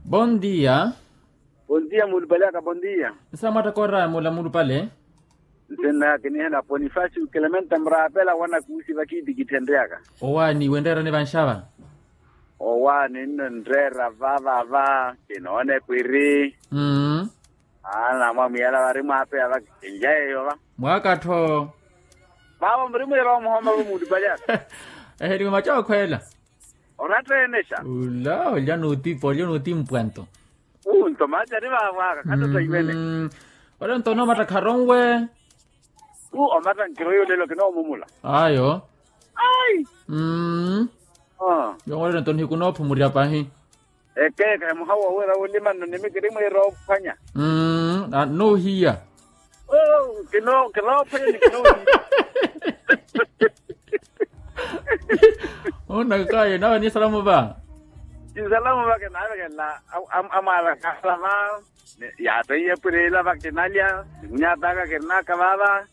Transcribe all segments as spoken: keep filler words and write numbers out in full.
Bondia. Bondia muulupale aka bondia. Nsaamwatta kooraamula muulupale. Nsinna kinihena ponifasio kilementa muraapela wana kuusi vakiitikithenryaka. Owaani wenreerani vanxava. Owaani nno nreera vavava kinoone kwiri. Aana mwamwiyala vari mwaapeya vakinja eyo va. Mwaakattho. Vaavo muri mwiira omuhoma vo muulupale aka. Eheliwe macookho ela. Onatteenexa. Ula olya n'utipo olya n'utimpwanto. Unto maati ari vaavo aka khattatha imene. Ole nto onoomatta kharonwe. Omatta nkiro yolelo kinoomumula. Ayo. Ai. Yongolelo nto nihikunoophu murya pahi. Ekeeka emuhawa wira wulima nno nimikiri mwiira ophwanya. Noohiya. Kinoophwanya ni kinoohiya. Onakaye nawe ni salamu va. Ni salamu va kinaavekela. Amwaala kaala va. Yaateiye pwirila va kinalya. Nimunyataka kirinaka vava.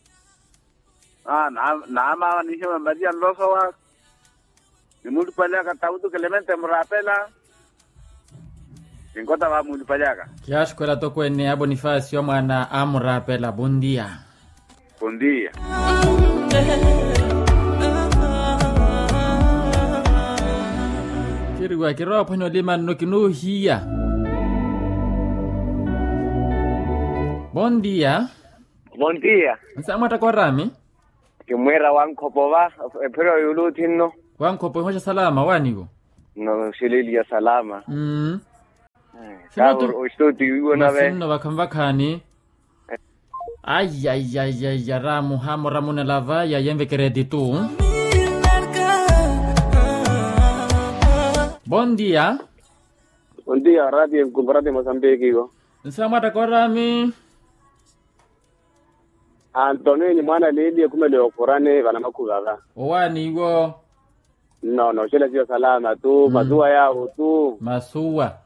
Naamava nihima maria nlosowa. Nimuulupale aka tawutu kilemente muraapela. Kinkota va muulupale aka. Kiyaxukhwela atokweene a bonifasio a mwaana a muraapela bondia. Bondia. Kiriwa kirowa ophwanya olima nno kinoohiya. Bondia. Bondia. Nsaamwatta kooraami. Kimwiira wankhopova. Ephiro yuuluthi nno. Wankhopova ihoxa salama waaniwo. Nno oxililiya salama. Mmm. Kaahuri oxituti wiiwo nave. Masinno vakhanvakhaani. Aiyaiyaiyaiya ramuha muramunela vaya yenvekereti tu. Bondia. Bondia rati enkumparati mosambiki iwo. Nsaamwatta kooraami. Antonio ni mwaana liili ekhumeliwa okhurani vanamakhuva va. Owaani iwo. Nno nooxelasiwa salama tu masuwa yaawo tu. Masuwa.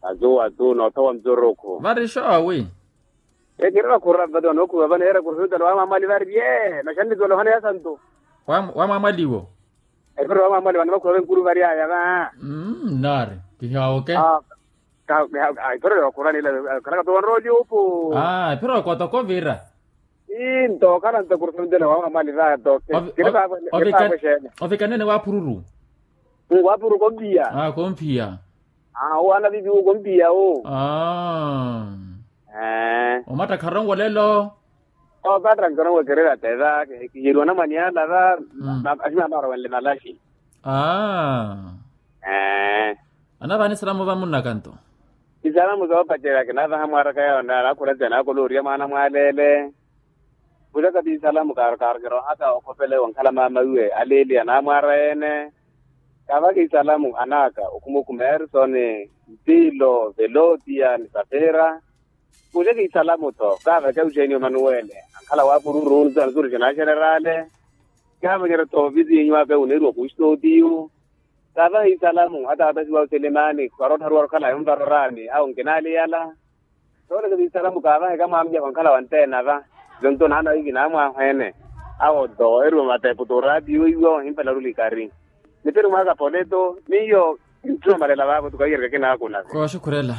Masuwa tu noothowa mzurukhu vari xoowi. Ekiri vakhurani vati vanookhuva vaneera kurhutela wamwamwali vari vye noxannikiwa nohaneya santu. Wamwamwaliwo. Epiro wamwamwali vanamakhuva venkuru varyaya va. Nnaari. Kihiwawoke. Ipherore wakhurani ila khalaka towanrooli upu. Ipherore kootokovira. Ii ntookhala nto kurusentene wamwamwali vaya toke. Ovikanene waphururu. Waphururu kompiya. Kompiya. Owaana viviwu kompiya wu. Omatta kharonwe olelo. Ovatta nkhono wekererya teva kiyeriwa namwani ala va. Aximama arowenle malaxi. Aa. Anavaani salamu va munnakanto. Isalamu soopacerya kinavaha mwaaraka yawo naakhula ti anaakola oriya mwaana mwaalele. Khucaka ti isalamu kaarukaaru kirohaka okhopele wonkhala maama iwe aleeli anaamwaara ene. Kaavaka isalamu anaaka okhuma okhuma erisoni, ntilo velotia ni safira. Kuuxeke isalamu-tho kaaveke uxeeni omanuwele ankhala waapururu nzuri xinaaxenerale. Kaavanyerya-tho vizinyu aka uneeriwa kuuxitotiyu. Kaavahe isalamu hata watasiwa oselemani khwarottharuwa okhala yonvarorani awo nkinaaliyala. Soolekesa isalamu kaavahe kamwaamiyaka onkhala wanteena va. Zonto naana wiki naamwaahweene. Awo-tho eriwa matepu tu oraatiyo iwo ohimpela rulikari. Nipiri mwaaka poleto miyo. Ntthumalela vaavo tu kaiyerika kinaakuna. Kooxukhurela.